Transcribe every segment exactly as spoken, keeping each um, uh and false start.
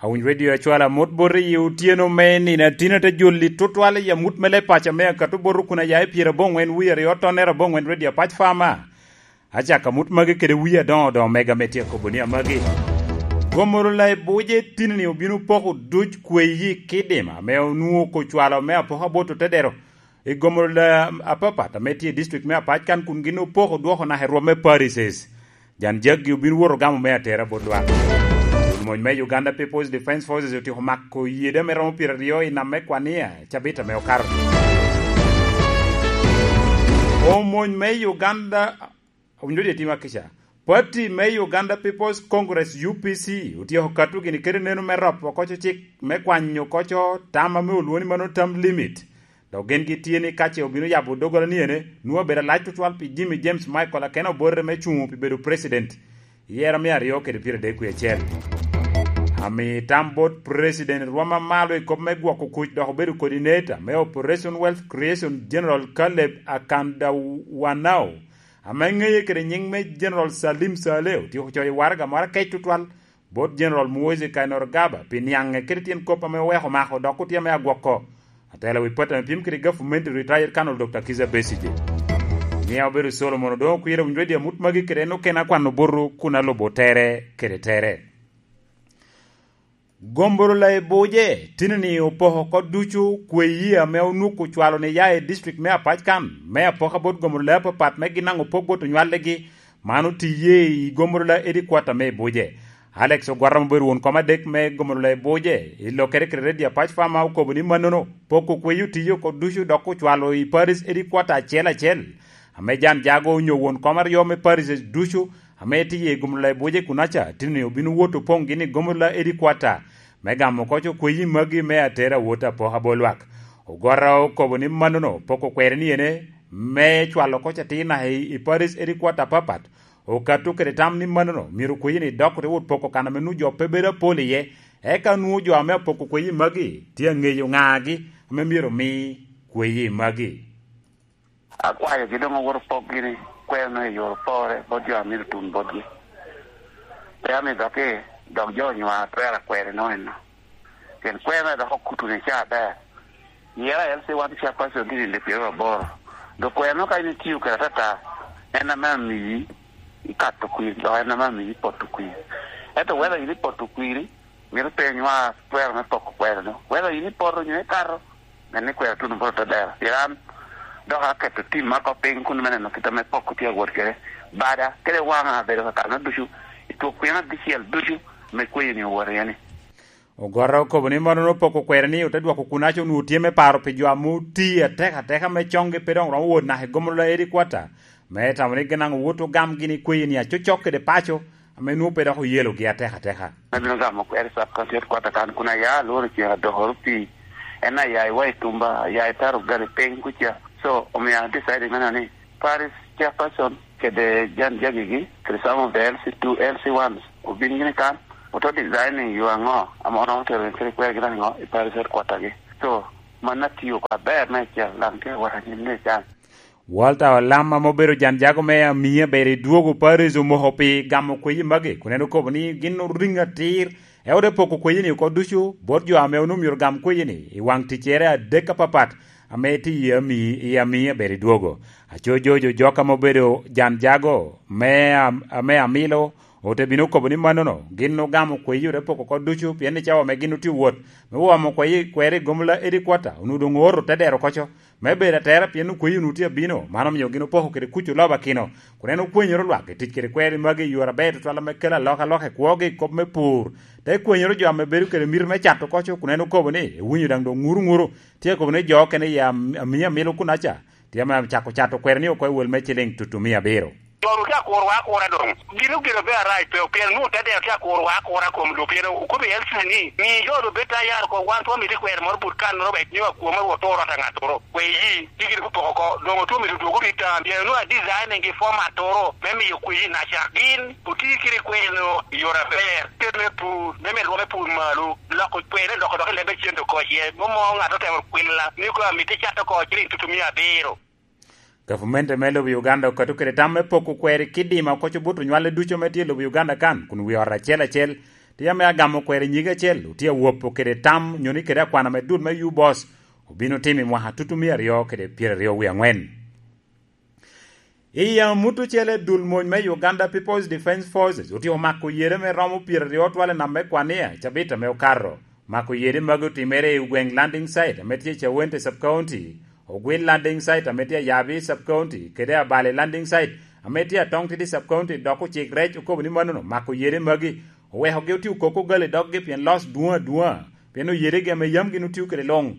Awiny redio acwala amut bot i otyeno me nino atino te joli tutwal i amut me leb paco me akato bot kun aya i pyera aboŋwen wie aryo tonnere aboŋwen redio apac fama. Acako amut magi kede wie adoŋo doŋo mega me tye akobo ni amagi. Gomolo la i buce tini-ni obino poko duc kweyi kidima ame onwoŋo kocwalo me apoka bot otedero i gomolo la apapat ame tye i district me apac kan kun gin opoko dwoko naka i rwom me parises. Jan jaggi obin woto gamo me atera bot lwak. Mony me Uganda People's Defence Forces otyeko mako yede ame romo pyeraryo i nam me Kwania cabit ame okato. Omony me Uganda owinyo dye tima kica. Pati me Uganda People's Congress U P C otyeko kato gini kede neno me ropo koco cik me kwanyo koco tam ame olwoni mano tam limit. Dok gin gitye ni ka ce obino yabo doggola ni ene, nwoŋo abedo alac tutwal pi Jimmy James Michael akena obote me cuŋo pi bedo president i yero me aryo kede pyeradek wie acel. Ami tam bot president rwom amalo i kop me gwoko kuc dok obedo coordinator me Operation Wealth Creation General Caleb Akandawanao, ame ŋeye kede nyiŋ me General Salim Saleh, otyeko coyo waraga moro akec tutwal bot General Muhoozi Kainerugaba pi niaŋe kede tyen kop ame oweko mako dok otye ame agwoko. Atela wi pati ame pyem kede gavumenti retired Colonel Doctor Kizza Besigye. Mia obedo Solomon Odongo Kwira winyo redio amut magi kede en okene akwano butu kun alubo tere kede tere. Gombolola i Buje tini-ni opoko oko ducu kweyi ame onwuko cwalo ni ya i district me Apac kan, me apoka bot gombolola apapat me gin daŋ opok bot onywalligi, man otiye i gombolola headquarter me i Buje. Alex Ogwara ma obedo won kom adek me gombolola i Buje, i lokkere kede redio Apac Fama okobo ni mannono, poko kweyi otiye oko ducu dok ocwalo i parish headquarter acel acel, ame jan jago onyo won kom aryo me parishes ducu, ame tye i gombolola i Buje kunaca, tini obino wot opoŋ gin i gombolola headquarter, me gamo koc okweyi magi me atera wot apoka bot lwak. Ogwara okobo ni mannono poko kwere ni ene me cwalo koc atir naka i, i parish headquarter apapat. Okato kede tam ni mannono myero kweyi ni dok te wot poko kan ame nwoŋo jo pe bedo apol iye, eka nwoŋo jo ame apoko kweyi magi tye aŋeyo ŋagi ame myero omi kweyi magi. Akwayogi doŋ owot opokgi ni kweno i yor pore bot jo a myero tun botgi. Pe amigogi, dok jo onywa atwero akwero inono eno. Pien kweno dok okuto ni ca aber. Yera L C one chairperson tye ninde pyeraryo aboro. Dok kweno ka in itio kede atata, en ame amiyi ikato kwir, dok en ame amiyi poto kwir. Ento whether in ipoto kwiri, mito pe inywa twero me poko kwero-nu. Whether in ipoto nyo ikato, men ni kwero tuno bot otedero. Pien an dok aketo tim ma oko piny kun me neno kit ame poko tye awot kede. Bada kede waŋa abedo ka kano ducu, i twok pien abicel ducu me kweyo-ni owot iye-ni. Ogwara okobo ni mannono poko kwere ni ote dwoko kunaca onwoŋo tye me paro pi jo ame oti atek ateka me coŋgi pe doŋ romo wot naka i gombolola headquarter, me tamo ni gin daŋ owot ogam gin i kweyi-ni acocok kede paco, ame nwoŋo pe dok oyelogi atek ateka. Abino gamo kwero i sub county headquarter kan kun aya alworo ceng adokoro pii. En aya i Wai Tumba, aya i taro gali piny kuca. So, omio an deciding meno ni parish chairperson kede jan jagigi, kede some of the L C two, L C ones, obin gini kan, oto designing yo aŋo, ame oromo tero kede kwergi daŋ aŋo i parish headquarter gi. So, man atio oko aber me acel, daŋ tye awot anyim ni can. Walter Olam ame obedo jan jago me Amia bere i dwogo Paris omoko pi gamo kweyi magi, kun en okobo ni gin oriŋ atir, e ote poko kweyi-ni oko ducu, bot jo ame onwoŋo myero gam kweyi-ni i waŋ ticcere adek apapat, ame tye i Amia, i Amia bere i dwogo. Aco Jojo Jok ame obedo jan jago me Am-, ame Amilo, ote bino okobo ni mannono, gin ogamo kweyi ote poko oko ducu, pien ni cawa ame gin otye wot, me womo kweyi, kwero i gombolola headquarter, onwoŋo doŋ ooro te dero koco, me bedo atera, pien okweyi onwoŋo tye abino, man omio gin opoko kede kuc olobakino, kun en okwenyoro lwak i tic kede kweri magi i yore aber tutwal ame kelo alokaloka i kwogi i kop me pur, te kwenyoro jo ame bedo kede miti me cato koco, kun en okobo ni, ewinyo daŋ doŋ ŋuru ŋuru, tye akobo ni jo okene i Am-, Amia Amilo kunaca, tye ame cako cato kweri ni oko i wel me ciliŋ tutumia abiro. Jo-nu tye akuro wa akura doŋ. Gin ogire obedo arac pe, pien nwoŋo te dero tye akuro wa akura kom lobo, pien okobo i L C ni, mi jo-nu bed tayar oko, wan twon mito kwero moro but kan-nono wek nyo akwoma wot to orot aŋattoro. Kweyi, tye gire opoko oko, doŋ otwon mito dwogo rit tam, pien nwoŋo a designing gi format-toro me miyo kweyi naca. Gin oti kede kweno i yore aber, kede me pur, me medo rwom me pur malo, loko kwene, loko dok i leb me cente oko iye. Mom mo ŋat otemo kwilla, ni kono amito cat oko ciliŋ tutumia abiro. Gavumenti me lobo Uganda okato kede tam me poko kweri kidima oko cobuto nywale ducu ame tye i lobo Uganda kan, kun wi ot acel acel Tye ame agamo kwero i nyige acel, otye awopo kede tam nyo ni kede akwana me dul me U-Boss obino timo i mwaka tutumia aryo kede pyeraryo wie angwen. I amut ocele, dul mony me Uganda People's Defence Forces otye omako yere me romo pyeraryo twal i nam me Kwania i cabit ame okato. Mako yere magi otimere i gweng Landing Site ame tye i Chawente Sub-County, Ogwil Landing Site ame tye Ayabi Sub-County, kede Abale Landing Site ame tye Atongtidi Sub-County, dok ocik rec okobo ni mannono mako yere magi owekogi otio koko gal i doggi pien loss dwoŋ adwoŋa, pien oyedegi ame yam gin otio kede luŋ.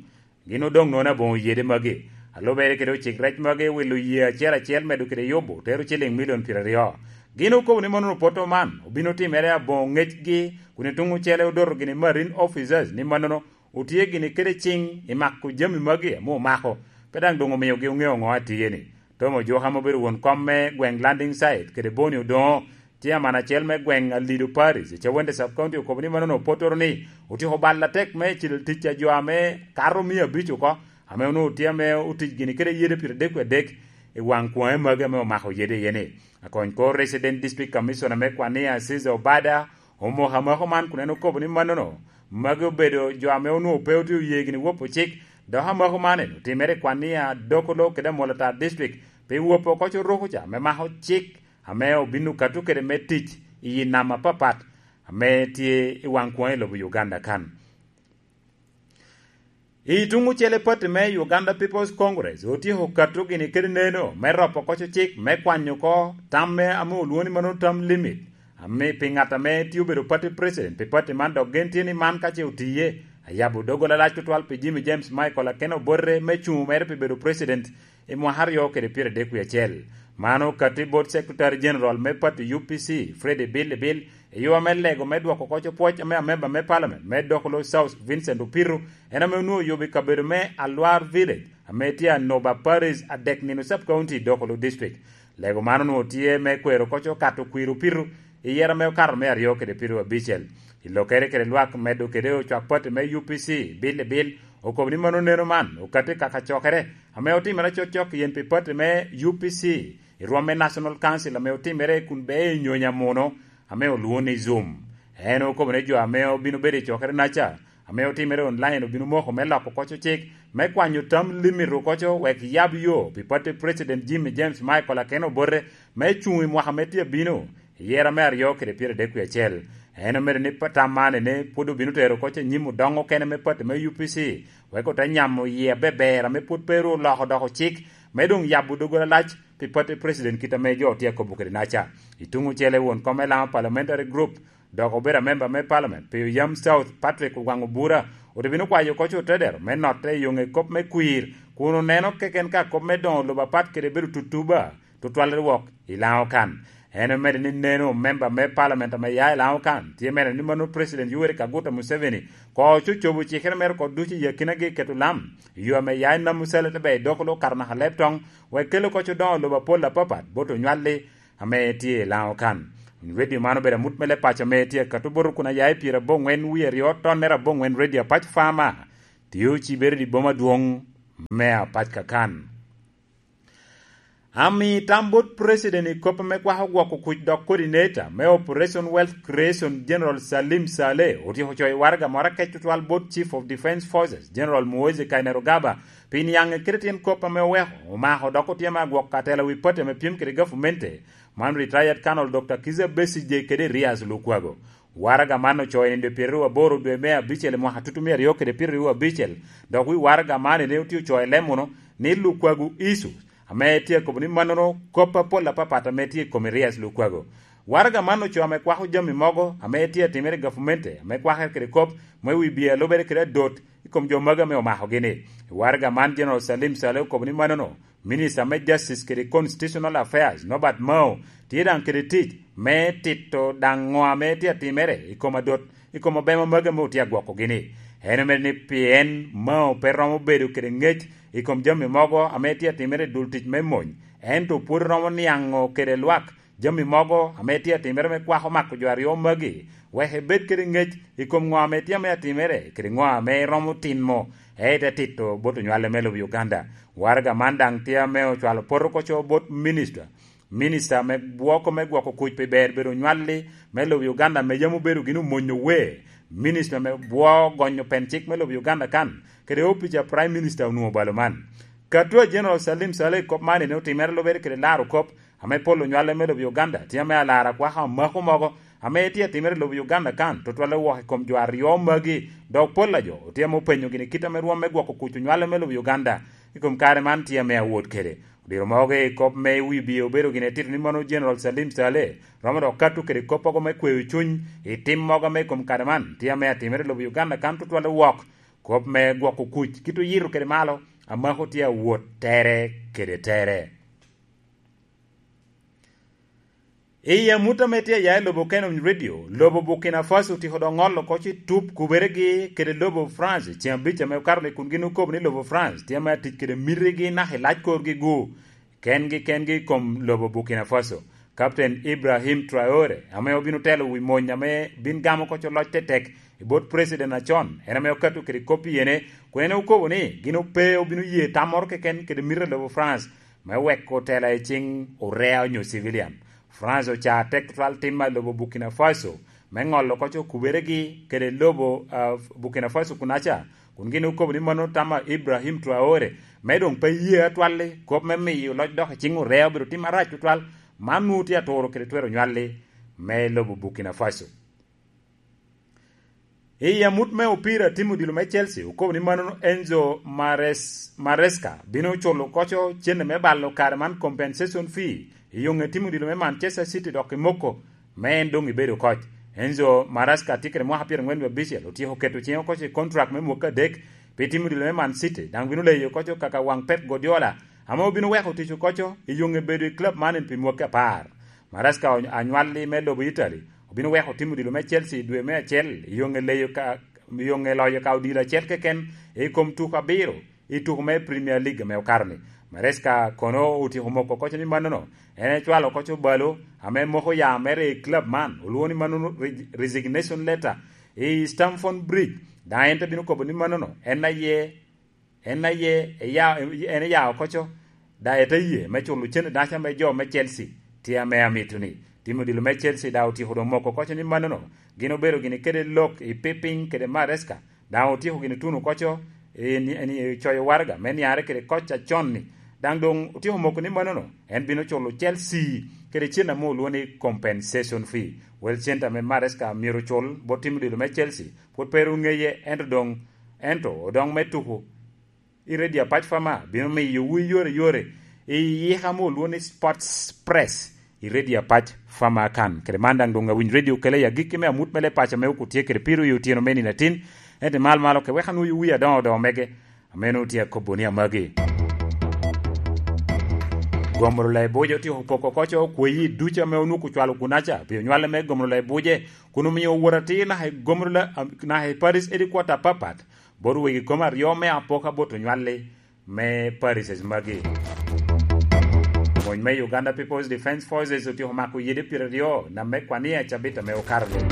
Gin odoŋ nono aboŋo yede magi. Alubere kede ocik rec magi owilo yee acel acel medo kede yubo tero ciliŋ milion pyeraryo. Gin okobo ni mannono poto man obino timere aboŋo ŋecgi, kun i tuŋ ocele odoto gini marine officers ni mannono otye gini kede ciŋ i mako jami magi ame omako, pe daŋ doŋ omiogi oŋeo ŋo atye-ni. Tom Ojuka ame obedo won kom me gweŋ Landing Site kede Boni Odoŋo, tye aman acel me gweŋ Alido Parish i Chawende Sub-County okobo ni mannono opotoro ni otyeko bal atek me cil tic a jo ame kato mia abic oko, ame onwoŋo tye ame otic gini kede yede pyeradek wie adek i waŋ kwaŋe magi ame omako yede iye-ni. Akony kor Resident District Commissioner me Kwania Aziza Obada omoko amako man kun en okobo ni mannono magi obedo jo ame onwoŋo pe otye oye gini wopo cik, dok amako man en otimere i Kwania, Dokolo kede Amolatar District, pi wopo oko coruku ca me mako cik ame obin okato kede me tic i nam apapat ame tye i waŋ kwaŋ i lobo Uganda kan. I tuŋ ocele, pati me Uganda People's Congress otyeko kato gini kede neno me ropo koco cik me kwanyo oko tam me ame olwoŋo ni mano term limit, ame pi ŋat ame tye obedo party president pi pati man, dok gen tye ni man ka ce otiye, ayabo doggola lac tutwal pi Jimmy James Michael Akena Obote me cuŋ mere pi bedo president i mwaka aryo kede pyeradek wie acel. Man okatti bot Secretary General me pati U P C, Freddy Bill Bill, i yo ame lego me dwoko koco pwoc ame amemba me Parliament me Dokolo South, Vincent Opiru, en ame onwoŋo oyubo i kabedo me Alwar Village, ame tye Anoba Parish, Adek Nino Sub-County, Dokolo District. Lego man onwoŋo tye me kwero koco okato kwir Opiru i yero ame okato me aryo kede pyeraryo abicel. I lokere kede lwak medo kede ocwak pati me U P C, Bill Bill okobo ni mano neno man okatti kaka cokere ame otimere cokcok yen pi pati me U P C i rwom me National Council ame otimere kun bee i nyonyo amuno ame olwoŋo ni Zoom. En okobo ni jo ame obino bedo i cokere-naca ame otimere online obino moko me loko koco cik me kwanyo tam limit okoco wek yab yo pi pati President Jimmy James Michael Akena Obote me cuŋ i mwaka me tye abino, i yera me aryo kede pyeradek wie acel. En omedo ni pa-, tam man ene pwod obino tero koco i nyim odoŋo okene me pati me U P C, wek ote nyamo yie abeber ame pwod pe ru oloko doko cik me doŋ yabo doggola lac pi pati president kit ame jo tye akobo kede-naca. I tuŋ ocele, won kom me Lama Parliamentary Group, dok obedo amemba me Parliament pi Oyam South, Patrick Ogwaŋ Obura, ote bino kwayo koco otedero me notte i yoŋe kop me kwir, kun oneno keken ka kop me doŋo lobo apat kede bedo tutuba tutwalle wok i Laŋo kan. En omedo ni neno memba me Parliament ame ya i Laŋo kan tye mere ni mano President Yoweri Kaguta Museveni ko ococobo cikere mere oko ducu i akinagi keto lam i yo ame ya i Namucele te ber i Dokolo okato naka Leptong, wek kelo koco doŋo lobo apol apapat bot onywalli ame tye i Laŋo kan. Radio man obedo amut me leb paco ame tye akato bot okuna ya i pyerabongwen wie aryo tonnere abongwen Radio Apac Farmer, tye ocibere i boma adwoŋ me Apac Kakan. Ami tam bot President i kop ame kwako gwoko kuc dok coordinator me Operation Wealth Creation, General Salim Saleh, otyeko coyo waraga moro akec tutwal bot Chief of Defence Forces, General Muhoozi Kainerugaba, pi niaŋe kede tyen kop ame oweko omako dok otyemo agwok atela wi pati ame pyem kede gavumenti, man Retired Colonel Doctor Kizza Besigye kede Erias Lukwago. Waraga man ocoyo i nino pyeraryo aboro dwe me abicel i mwaka tutumia aryo kede pyeraryo abicel, dok wi waraga man ene otye ocoyo i Lemuno ni Lukwago Isu, ame tye akobo ni mannono kop apol apapat ame tye i kom Erias Lukwago. Waraga man ocoyo ame kwako jami mogo ame tye atimere i gavumenti, ame kwakere kede kop me wi bia lubere kede adot i kom jo magi ame omakogi-ni. I waraga man, General Salim Saleh okobo ni mannono Minister me Justice kede Constitutional Affairs, Norbert Mao, tye daŋ kede tic me tito daŋ ŋo ame tye atimere i kom adot, i kom obema magi ame otye agwokogi-ni. En omedo ni pien Mao pe romo bedo kede ŋec i kom jami mogo ame tye atimere i dul tic me mony, ento pwod romo niaŋo kede lwak jami mogo ame tye atimere me kwako mako jo aryo magi, wek ebed kede ŋec i kom ŋo ame tye ame atimere kede ŋo ame eromo timo, ete tito bot onywale me lobo Uganda. Waraga man daŋ tye ame ocwalo poto koco bot Minister Minista me gwoko me gwoko kuc pi ber bedo onywalli me lobo Uganda ame yam obedo gin omonyo wer, minista me bwo gonyo pen cik me lobo Uganda kan, kede opic a Prime Minister onwoŋo balo man. Kato a General Salim Saleh kop man ene otimere lubere kede laro kop ame pol onywale me lobo Uganda, tye ame alara kwaka omako mogo ame tye atimere i lobo Uganda kan, tutwalle wok i kom jo aryo magi, dok pol a jo otye ame openyo gini kit ame rwom me gwoko kuc onywale me lobo Uganda i kom kare man tye ame awot kede. Odiro mogo i kop me wi bie obedo gin etito ni mano General Salim Saleh romo dok kato kede kop mogo me kweyo cuny i tim mogo me i kom kare man tye ame atimere i lobo Uganda kan tutwalle wok kop me gwoko kuc kit oyito kede malo amako tye awot tere kede tere. I amut ame tye aya i lobo Canon Radio, lobo Burkina Faso otiko dok ŋolo oko ci tup kuberegi kede lobo France ceŋ abic ame okato ni kun gin okobo ni lobo France tye ame atic kede mitigi naka i lac korgi gu kengi kengi i kom lobo Burkina Faso. Captain Ibrahim Traore ame obino telo wi mony ame bin gamo oko co loc tetek i bot president acon, en ame okato kede kop i yene, kun en okobo ni gin ope obino ye tam moro keken kede mito a lobo France me weko tela i ciŋ orea onyo civilian. France oca tek tutwal tim a lobo Burkina Faso me ŋolo oko co kuberegi kede lobo, ah, Burkina Faso kunaca, kun gin okobo ni mano tam a Ibrahim Traore me doŋ pe ye atwalli kop me miyo loc dok i ciŋ orea obedo tim arac tutwal. Man nwoŋo tye aturo kede twero nywalli me lobo Burkina Faso. I amut me opira, tim odilo me Chelsea okobo ni mano Enzo Mares-, Maresca bino culo koco cente me balo kare man compensation fee i yoŋe tim odilo me Manchester City dok i moko me en doŋ ibedo koc. Enzo Maresca tye kede mwaka pyerangwen wie abicel, otyeko keto ciŋe koco i contract me mwaka adek pi tim odilo me Man City, daŋ bino leyo koco kaka waŋ Pep Guardiola ame obino weko tic okoco i yoŋe bedo i club man pi mwaka apar. Maresca onywalli me lobo Italy, obino weko tim odilo me Chelsea i dwe me acel i yoŋe leyo ka, i yoŋe loyo ka odilo acel keken i kom tuko abiro i tuko me Premier League ame okato-ni. Maresca kono otyeko moko koco ni mannono en ecwalo koco balo ame moko ya mere i club man, olwoŋo ni mannono re-, resignation letter i Stamford Bridge. Daŋ en te bino kobo ni mannono en aye En aye eya-, en eya oko co, daŋ ete ye me culo cene daca me jo me Chelsea. Tye ame amito ni tim odilo me Chelsea daŋ otyeko doŋ moko koco ni mannono gin obedo gini kede lok i pipiny kede Maresca, daŋ otyeko gini tuno koco i ni-, ni-, coyo waraga me niare kede koc acon-ni. Daŋ doŋ otyeko moko ni mannono en bino culo Chelsea kede cen ame olwoŋo ni compensation fee. Wel cente ame Maresca myero ocul bot tim odilo me Chelsea pwod pe ru ŋeye, ento doŋ, ento odoŋ me tuko i redio apac Fama bino miyowu i yore yore i yika ame olwoŋo ni Sports Press i redio apac Fama kan. Kede man daŋ doŋ awiny redio kele i agikki me amut me leb paco ame okutye kede piro i otyeno me nino atin, ento i mal malo ke wek anwoyo wi adoŋo odoŋo mege ame nwoŋo tye akobo ni amagi. Gomro Laibuje otyeko poko koco kweyi ducu ame onwoŋo ocwalo kunaca pi onywale me Gomro Laibuje, kun omio owot atir naka i Gomro La-, naka i Paris Headquarter apapat, bot wegi kom aryo me apoka bot onywalli me Paris magi. Mony me Uganda People's Defence Forces otyeko mako yede pyeraryo nam me Kwania cabit ame okato-ni.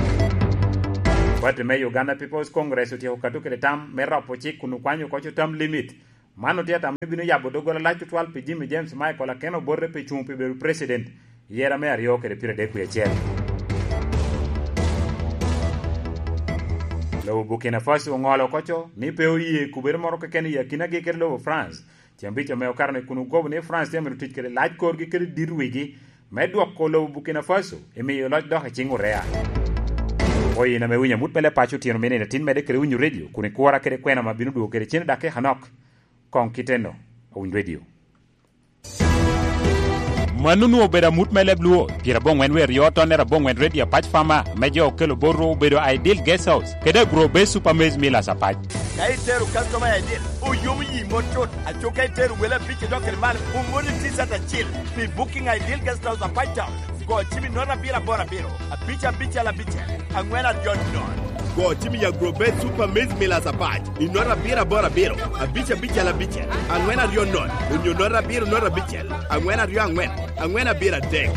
Pati me Uganda People's Congress otyeko kato kede tam me ropo cik kun okwanyo koco term limit. Man otye atamo ni bino yabo doggola lac tutwal pi Jimmy James Michael Aken Obote pi cuŋ pi bedo president i yera me aryo kede pyeradek wie acel. Lobo Burkina Faso oŋolo koco ni pe oye kubere moro keken i akinagi kede lobo France. Ceng abic ame okato ni kun okobo ni France tye amito tic kede lac korgi kede dit wigi me dwoko lobo Burkina Faso i miyo loc dok i ciŋ orea. Oyin ame winyo amut me leb paco otyeno mene in atin medde kede winyo redio kun ikura kede kwena ma bino dwogo kede cen i dakika nok. Koŋ kiteno, owiny redio. Mano onwoŋo obedo amut me leb Luo, pyerabongwen wer yo tonnere abongwen redio apac Fama, me jo okelo bot ru obedo Ideal Guest House, kede Agro Base Super Maize Millers apac. Ka itero customer I D, oyomo yi mot cut, aco ka itero wele abic idok kede malo, omoni T-shirt acil pi Booking Ideal Guest House apac Town. Go cim i note abiro aboro abiro, abic abicel abicel, angwen aryo nono. Go cim i Agro Base Super Maize Millers apac i note abiro aboro abiro, abic abicel abicel, angwen aryo nono, onyo note abiro note abicel, angwen aryo angwen, angwen abiro adek.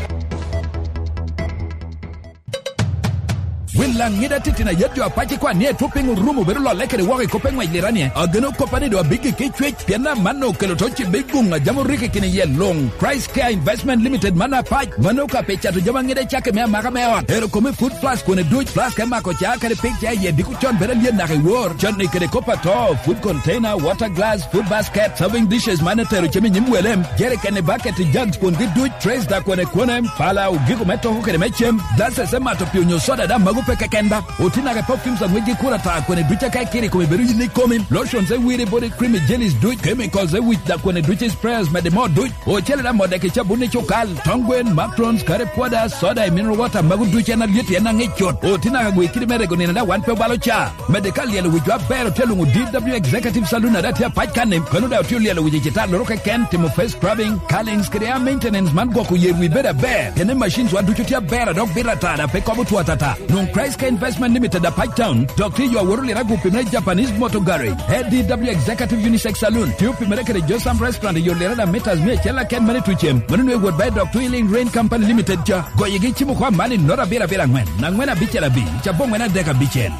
Laŋ ŋida titino a yet jo apac i kwan ni etwop piny orumo bedo lolle kede woko i kop eŋwec liranie. Ageno koppa ni doŋ abiggi ki cwec, pien amanno okelo to ci big guŋ a jam orikki kine iye luŋ. Christ Care Investment Limited man apac, mano ka pe cato jami aŋida i cakke me amaka me ot. Ero kome food plus kwone duc, plus ka imako ca kede pig ca iye diko con bedo alyet naka i wor. Con ni kede kop ato, food container, water glass, food basket, serving dishes man etero cem i nyim welem, jerikeni, baketi, jugs kwongi duc, trays da kwone kwone, pala, ogiko me toko kede me cem, glasses me mato pi onyo soda da mago pe keken ba. Oti naka i perfumes aŋwec gi kura ta kwene duc aka ikiri kome bedo yin i komi. Lotions e wiri body cream i jellies duc, chemicals e wic da kwene duc i sprayers mede mo duc. Ocele da mode ki cabun i cukal, tong gwen, makrons, kare pwoda, soda i mineral water mago duc en alyet en aŋic cut. Oti naka gwe kidi me rego nino da wan pe obalo ca. Mede ka lyelo wic wa ber otye luŋo D W Executive Saloon ada tye apac kan-ni. Kono da otye lyelo wic i cita loro keken, timo face scrubbing, curlings kede hair maintenance man gwoko yer wi bedo aber. Kene machines wa ducu tye aber a dok bito ata da pe kobo two atata. Nwoŋo Christ Care Investment Limited a Pike Town, dok tye yo aworo lira gupi me Japanese Motor Garage. A D W Executive Unisex Saloon, tye opimere kede Josam Restaurant i yo lira da metas mia acel aken mane tucem. Mano nwe wot by Doctor Healing Rain Company Limited ca. Goyigi cimo kwa mani nota abiro abiro angwen, angwen abicel abi, ca bongwen adek abicel.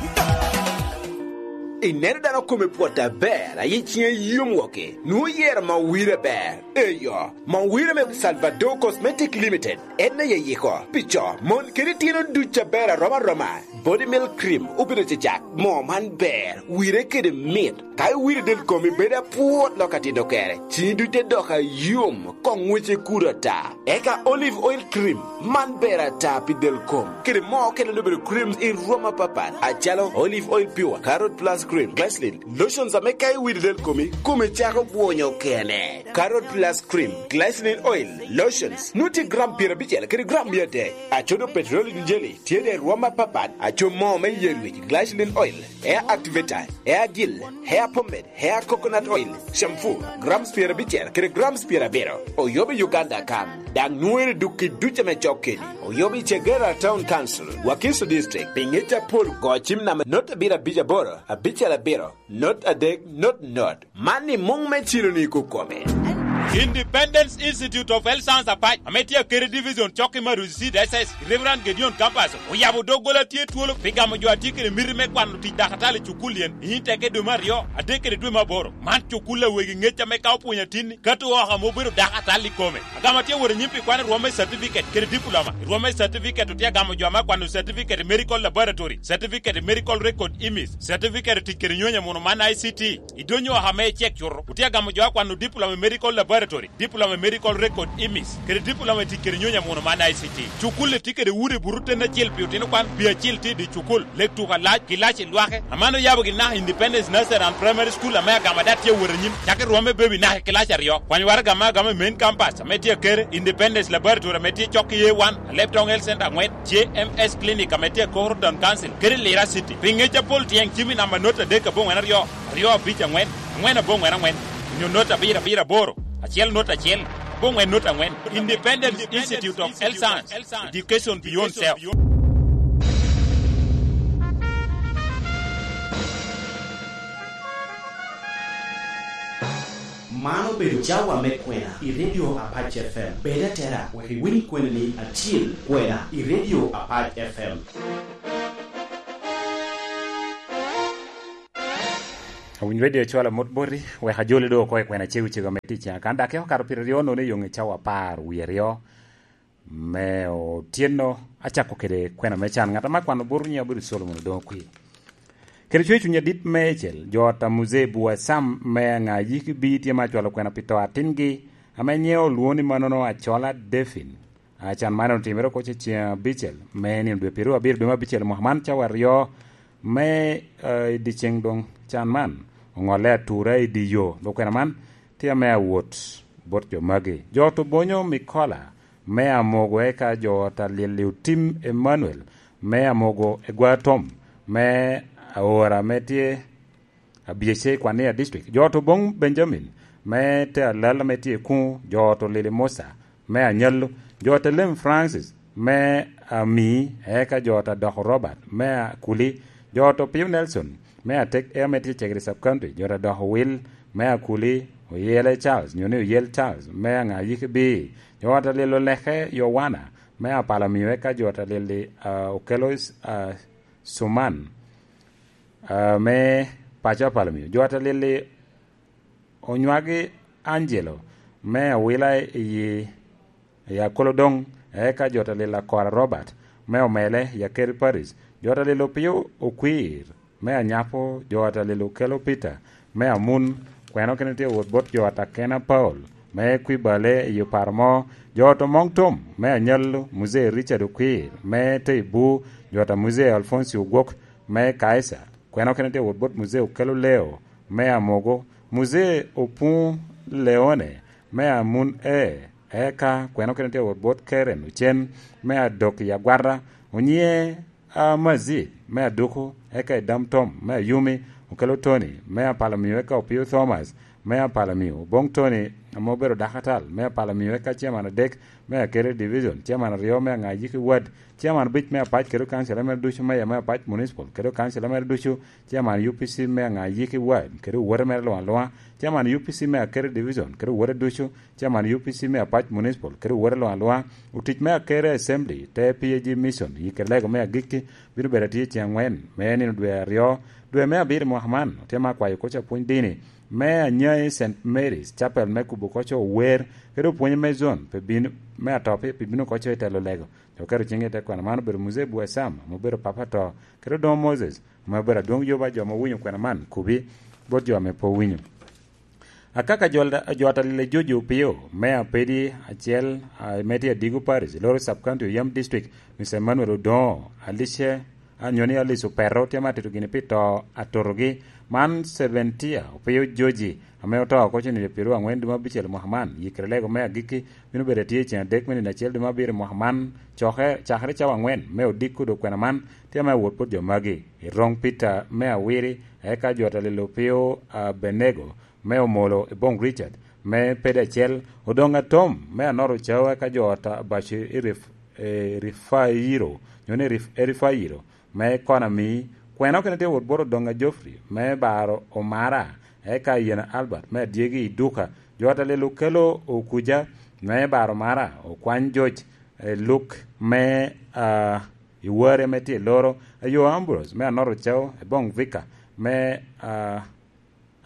Ineno dano kome pwot aber, ayi ciŋe yom woki, nwoŋo yero ma wire ber. Eyo, ma wire me Salvador Cosmetic Limited. En aye yiko pi co, mon kede itino duc aber arom aroma. Body Milk Cream obedo cecak. Moo man ber, wire kede mit. Ka iwiro del komi bedo apwot lok atino kere, cini duc te dok ayom, koŋ ŋwece kudo ata. Eka Olive Oil Cream, man ber ata pi del kom. Kede moo okene obedo creams i rwom apapat, acalo Olive Oil Pure, Carrot Plus Cream, Glycerin, lotions ame ka iwiro del komi, komi cako bwonyo kene. Carrot Plus Cream, Glycerin Oil, Lotions, nwoŋo tye gram pyerabicel kede gram mia adek. Acodo Petroleum Jelly tye de i rwom apapat, aco moo me yer wic, glycerin oil, hair activator, hair gel, hair pomade, hair coconut oil, shampoo, grams pyerabicel kede grams pyerabiro. Oyobo i Uganda kan, daŋ nwoŋere duk i duc ame cok keni. Oyobo i Chegera Town Council, Wakiso District, pi ŋec apol go cim namba not abiro abic aboro, abicel abiro, not adek, not not. Man i muŋ me cilo-ni kokome. Independence Institute of Health Science Apac, ame tye akede division cok i Maruzi C D S S, Reverend Gideon Campus, oyabo doggola tye twolo pi gamo jo a tye kede miti me kwano tic dakatal i cukul yen, i teke dwe me aryo, adek kede dwe me aboro. Man cukul a wegi ŋec ame ka opwonyo atinni, kato oko ame obedo dakatal i kome. Agamo atye wot anyim pi kwan i rwom me certificate kede diploma. I rwom me certificate otye agamo jo ame akwano certificate i medical laboratory, certificate i medical record imis, certificate i tic kede nyonyo muno man I C T. I donyo oko ame icek cuto, otye agamo jo akwano diploma i medical laboratory, diploma i medical record imis, kede diploma i tic kede nyonyo muno man I C T. Cukul-li tye kede udi buto ten acel pi otino kwan, pi acil tye i dye cukul. Lek tuko alac, kilaci lwake, aman oyabo gin naka Independence Nursery and Primary School ame agamo ada tye awot anyim, cako i rwom me baby naka i kilaci aryo. Kwany waraga ame agamo i main campus ame tye akere, Independence Laboratory ame tye cok i A one, Alebtong Health Center angwen, J M S Clinic ame tye i Koro Town Council, kede Lira City. Pi ŋec apol tyeng cim i namba not adek aboŋwen aryo, aryo abic angwen, angwen aboŋwen angwen, onyo not abiro abiro aboro, acel not acel, aboŋwen not angwen. Independence Institute of Health Science. Education beyond self. Man obedo cawa me kwena i Radio Apac F M. Bed atera wek iwiny kwena-ni acil, kwena i Radio Apac F M. Awiny Radio cwalo amot boti, wek ajoli doŋ oko i kwena cego cego me tic. Kan dok eka okato pyeraryo nono i yoŋe cawa apar wie aryo me otyeno, acako kede kwena me can. Ŋat ame akwano bot nyiŋe obedo Solomon Odoŋo Kwir. Kede cwer cuny adit meicel, jo ot a Muzee Bua Sam me Aŋa Yik Bii tye ma acwalo kwena pi to atingi, ame nyiŋe olwoŋo ni manono Acola Defin. A, can man otimere oko ce ceŋ abicel me nino dwe pyeraryo abiro dwe me abicel mwaka man, cawa aryo me, eh, i dyeceŋ doŋ can man oŋolle atura i dye yo. Dok kwena man tye ame awot bot jo magi. Jo ot Obonyo Mikola me Amogo, eka jo ot a Lili Otim Emmanuel me Amogo Egwatom me Aora ame tye Abiece i Kwania District. Jo ot Obong Benjamin me te Alal ame tye i Kuŋo, jo ot Olili Musa me Anyallo, jo ot Elem Francis me Amii, eka jo ot Adoko Robert me Akuli, jo ot Opio Nelson me Atek, ame tye Cegere Sub County, jo ot Adoko Will me Akuli, Oyele Charles, nyo ni Oyel Charles me Aŋa Yik Bii, jo ot Alilo Leke Yowana me Apala Miyo, eka jo ot Alili, ah, Okelois, ah, Suman, ah, me paco a Palamio. Jo atalili onywagi Angelo me Awila i, i Akolodoŋ, eka jo atalili Akora Robert me Omele i Akeri Parish. Jo atalili Opio Okwir me Anyapo, jo atalili Okelo Peter me Amun, kweno kene tye wot bot jo Atakena Paul me Kwibale i Oparo Mo, jo ot Omoŋ Tom me Anyallo, Muzee Richard Okwir me Teibu, jo ata Muzee Alfonsi Ogwok me Kaisa, kweno kene tye wot bot Muzee Okelo Leo me Amogo, Muzee Opuŋ Leone me Amun E, eka kweno kene tye wot bot Keren Ocen me Adok i Agwata, Onyiŋe a Mazit me Aduku, eka Idam Tom me Ayumi, Okelo Tony me Apalamio, eka Opio Thomas me Apalamio, Oboŋ Tony ame obedo dakatal me Apalamio, eka Chairman adek me Akere Division, Chairman aryo me Aŋayiki Ward, Chairman abic me Apac kede kansila mere ducu, Meya me Apac Municipal kede kansila mere ducu, Chairman U P C me Aŋayiki Ward kede owote mere luŋ aluŋa, Chairman U P C me Akere Division kede owote ducu, Chairman U P C me Apac Municipal kede owote luŋ aluŋa, otic me Akere Assembly, te P A G Mission, i kede lego me agikki, bino bedo atye ceŋ aŋwen me nino dwe aryo, dwe me abiro i mwaka man. Otye me akwayo koc apwony dini me Anyai Saint Mary's Chapel me kubo koc ower, kede opwonye me zon pe bino, me atop pe bino koc i telo lego. Oketo ciŋe i te kwena. Man obedo Muzee Bua Sam, ame obedo papa to, kede Odoŋo Moses, ame obedo adwoŋ yoba jo ame owinyo kwena man, kubi bot jo ame pe owinyo. Akaka jo, jo atalil a Jojo Opio, me Apedi acel, a, me tye Adigo Parish, Loro Sub County, Oyem District, Mister Emmanuel Odoŋo, Alice, a, nyo ni Alice Opeto, tye ma tito gini pi to atotogi. Man Seventia Opio Joji, ame oto oko cen nino pyeraryo aŋwen dwe me abicel mwaka man, yikere lego me agikki bino bedo atye i cen adek me nino acel dwe me abiro mwaka man, coke, cakere cawa aŋwen me odiko dok kwena man, tye ame awot bot jo magi. I roŋ Peter me Awiri, eka jo atalil Opio, a, Benego, me Omolo i Boŋ Richard, me Pede acel, Odoŋ Atom, me Anoro Cao, eka jo ot Abaco i Rif-, e, Rifairo, nyo ni Rif-, Erifairo, me Konami, kweno kene tye wot bot Odoŋ a Geoffrey, me Baro Omara, eka Yena Albert, me Adyegi i Duka, jo atalil Okelo Okuja, me Baro Omara, Okwany Joc, e, Luk, me, a, i Ware, me tye i Loro, Ayo Ambrose, me Anoro Cao, i Boŋ Vika, me, a,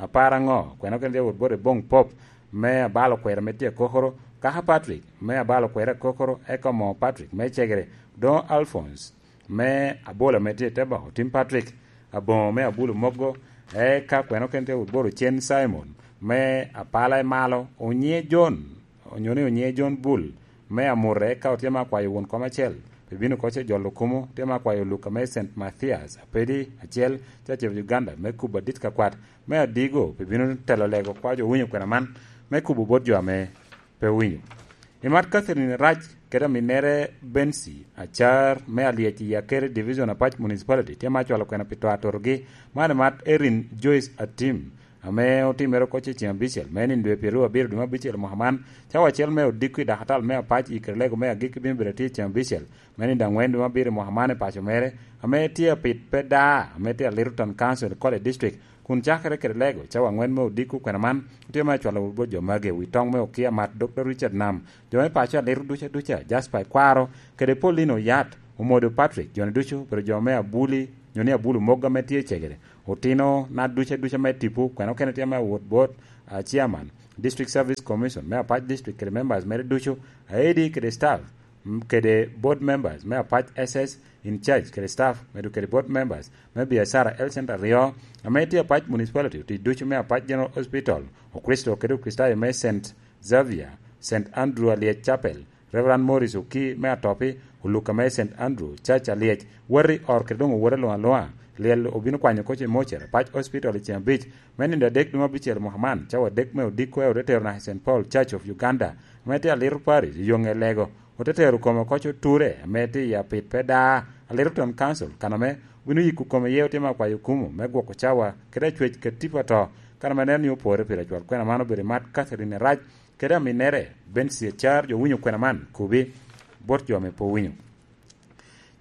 Apar aŋo? Kweno kene tye wot bot Eboŋ Pop, me Abalo Kwero, me tye Kokoro, Kaka Patrick, me Abalo Kwero Kokoro, eka Omoo Patrick, me Cegere, Odoŋo Alphonse, me Abola, me tye Tebako, Tim Patrick, Aboŋo, me Abulu Mogo, eka kweno kene tye wot bot Ocen Simon, me Apala i Malo, Onyiŋe John, onyo ni Onyiŋe John Bull, me Amute, eka otye me akwayo won kom acel, pi bino koc i jolo kumo, tye me akwayo Luka me Saint Mathias, Apedi acel, Church of Uganda, me kubo adit ka kwat, me Adigo, pi bino telo lego kwa jo winyo kwena man, me kubo bot jo ame pe winyo. I mat Catherine Rac kede aminnere Bensi Acar, me Alyec i Akere Division, Apac Municipality, tye me acwalo kwena pi to atotogi, man i mat Erin Joyce Atim, ame otimere oko ce ceŋ abicel, me nino dwe pyeraryo abiro dwe me abicel mwaka man, cawa acel me odiko i dakatal me Apac i kede lego me agikki bino bedo atye i ceŋ abicel, me nino aŋwen dwe me abiro mwaka man i paco mere, ame tye apit pe daa, ame tye a Littleton Council, College District, kun cakere kede lego cawa aŋwen me odiko kwena man, otye me acwalo bot jo magi, wi toŋ me okia mat, Dokta Richard Nam, jo me paco a Liro duca duca, Jasper Ikwaro, kede Paulino Yat, Omodo Patrick, jo-ni ducu obedo jo me Abuli, nyo ni Abulu Mogo ame tye i Cegere. Otino na duca duca me tipo, kwena okene tye me wot bot, ah, Chairman, District Service Commission me Apac District kede members mere ducu, aedi kede staff, m-, kede board members me Apac S S in charge kede staff, medo kede board members me biacara Health Center aryo, ame tye Apac Municipality, otic ducu me Apac General Hospital, Okricito kede Okricitayo me Saint Xavier, Saint Andrew Alyec Chapel, Reverend Morris Oki me Atopi, Oluka me Saint Andrew, Church Alyec, Wati Or kede doŋ owote luŋ aluŋa. Lyel obino kwanyo koc i Mocer, Apac Hospital i ceŋ abic, me nino adek dwe me abicel mwaka man, cawa adek me odiko, ote tero naka i Saint Paul Church of Uganda, ame tye Alito Parish, i yo ŋe Lego. Ote tero kome koc oture, ame tye i Apit pe daa, Alito Town Council, kan ame obino yiko kome iye, otye me akwayo kumo, me gwoko cawa, kede acwec ka tipo ato, kan ame neno ni opore pire cwal. Kwena man obedo i mat Catherine Rac, kede aminnere, Bensi Acar, jo winyo kwena man, kubi, bot jo ame pe owinyo.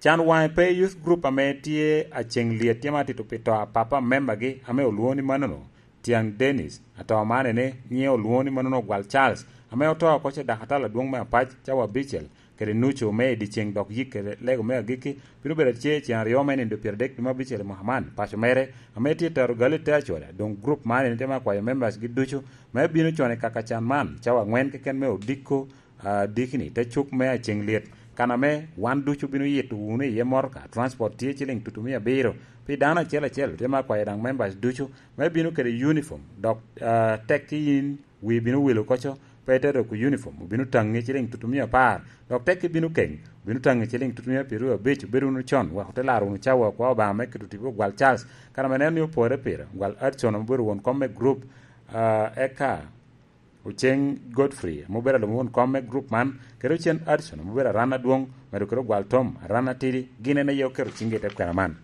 Can Waŋe Pe Youth Group ame tye aceŋ lyet tye ma tito pi to a papa membagi ame olwoŋo ni manono, Tiaŋ Dennis, ato man ene nyiŋe olwoŋo ni manono Ogwal Charles, ame oto oko ce dakatal adwoŋ me Apac cawa abicel, kede nucu me i dyeceŋ dok yik kede lego me agikki, bino bedo tye ceŋ aryo me nindo pyeradek dwe me abicel i mwaka man. Paco mere, ame tye i Tarugale te acoda, doŋ gurup man eni tye me akwayo members gi ducu me bino con i kaka can man, cawa aŋwen keken me odiko, ah, dikini, te cuk me aceŋ lyet, kan ame wan ducu bino yito wunu iye motoka, transport tye ciliŋ tutumia abiro, pi dano acel acel, tye me akwayo daŋ members ducu me bino kede uniform, dok, ah, tekki in wi bino wil oko co, pe ite doko uniform, obino taŋi ciliŋ tutumia apar, dok tekki bino keŋ, obino taŋi ciliŋ tutumia pyeraryo abic, obedo wunu con, wek ote laro wunu cawa akwa Obaŋa me keto tipo Ogwal Charles, kan ame neno ni opore pire, Ogwal Hudson ame obedo won kom me group, ah, eka Oceŋ Godfrey ame obedo alum won kom me group man, kede Oceŋ Hudson ame obedo aran adwoŋ, medo kede Ogwal Tom, aran atidi, gin en aye oketo ciŋgi i te kwena man.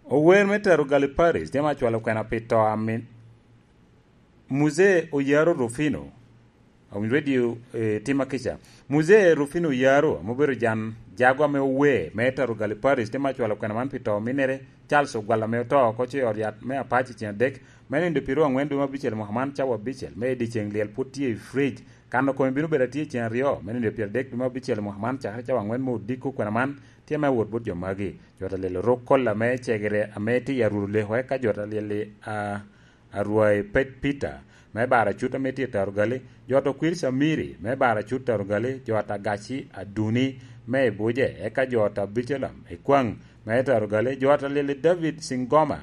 Ower me Tarugale Parish tye me acwalo kwena pi to a min Muzee Oyaro Rufino. Awinyo radio, eh, tima kica. Muzee Rufino Oyaro, ame obedo jan jago ame ower me Tarugale Parish, tye me acwalo kwena man pi to ominnere, Charles Ogwal ame oto oko ce i ot yat me Apac i ceŋ adek, me nindo pyeraryo aŋwen dwe me abicel mwaka man, cawa abicel, me i dyeceŋ lyel pwod tye i fridge. Kano kome bino bedo atye i ceŋ aryo, me nindo pyeradek dwe me abicel mwaka man, cakere cawa aŋwen me odiko kwena man, tye me awot bot jo magi. Jo ta lyel Orok Kolla me Cegere ame tye i Aruru Leko, eka jo ta lyel i, ah, Arwai Pet Peter, me Baracut ame tye i Tarugale, jo ta Okwir Camiri, me Baracut Tarugale, jo ta Gaci Aduni, me Ibuje, eka jo ta Bicelam Ekwaŋ, me Tarugale, jo ta lyel i David Singoma,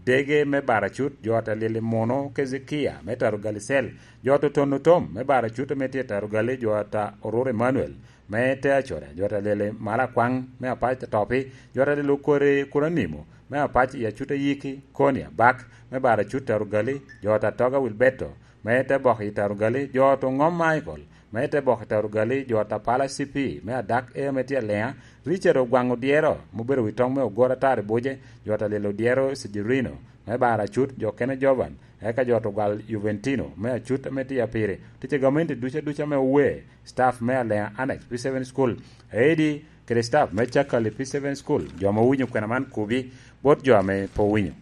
Dege me Baracut, jo ta lyel i Muno Kezekia, me Tarugale Cell, jo ta Otonno Tom, me Baracut ame tye i Tarugale, jo ta Orur Emmanuel, me te acoda, jo ta lyel i Malakwaŋ, me Apac Atopi, jo ta lyel Okore Kuranimo, me Apac i Acut Ayiki, Koni Abak, me Baracut Tarugale, jo ta Toga Wilberto, me te bok i Tarugale, jo ta Oŋom Michael, me te bok i Tarugale, jo ta Pala C P, me Adak Air me tye Alea, Richard Ogwaŋ Odyero, ame obedo wi toŋ me Ogoro Atar i Buje, jo ta lyel Odyero Sijirino, me Baracut, jo kene Jovan, eka jo ta Ogwal Juventino, me Acut ame tye Apiri, ticca gamente ducu aduca ame ower, staff me Alea Annex P seven School, Aedi, kede staff me Cakali P seven School, jo ame owinyo kwena man kubi, bot jo ame pe owinyo.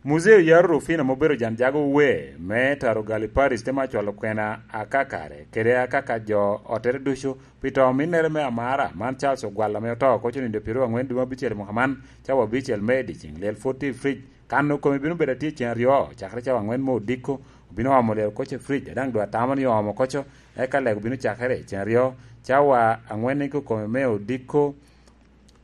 Muzee Oyaro Rufino ame obedo jan jago wer me Tarugale Parish te me acwalo kwena akakare, kede akaka jo ottere ducu, pi to ominnere me amara, man Charles Ogwal ame oto oko conindo pyeraryo aŋwen dwe me abicel i mwaka man, cawa abicel me i dyeceŋ lyel pwod tye i fridge. Kano kome bino bedo atye i ceŋ aryo, cakere cawa aŋwen me odiko, obino omo lyel oko ce fridge, a daŋ doŋ atamo ni oomo oko co, eka lego bino cakere i ceŋ aryo, cawa aŋwen i kome me odiko.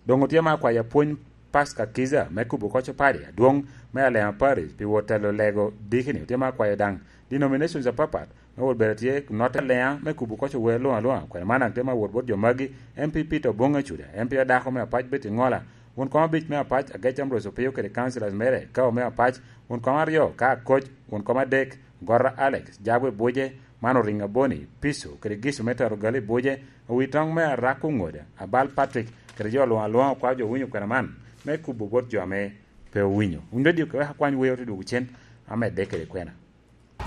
Doŋ otye me akwayo apwony Pastor Kiza me kubo oko co padi adwoŋ me Alema Parish pi wot telo lego dikini. Otye me akwayo daŋ denominations apapat me wot bedo tye notte Alema me kubo oko co wer luŋ aluŋa. Kwene man daŋ tye me wot bot jo magi: M P Peter Oboŋ Acuda, M P adako me Apac Betty Ŋola, won kom abic me Apac Agec Ambrose Opio kede councillors mere, Kao me Apac, won kom aryo ka Akoc, won kom adek Gora Alex, Jabwe Buje, man Oriŋ Aboni, Piso, kede Giso me Tarugale Buje, owi toŋ me Arako Ŋoda, Abal Patrick, kede jo luŋ aluŋa okwao jo owinyo kwena man, me kubo bot jo ame pe owinyo. Wun dok diko wek akwany wer ote dwogo cen, amedde kede kwena.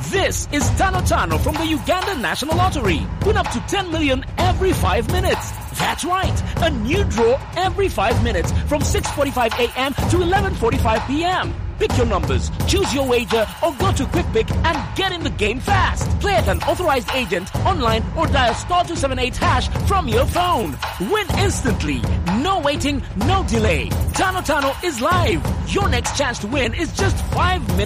This is Tano Tano from the Uganda National Lottery. Win up to ten million every five minutes. That's right, a new draw every five minutes from six forty-five a m to eleven forty-five p m. Pick your numbers, choose your wager, or go to Quick Pick and get in the game fast. Play at an authorized agent, online, or dial star two seven eight hash from your phone. Win instantly. No waiting, no delay. Tano Tano is live. Your next chance to win is just five minutes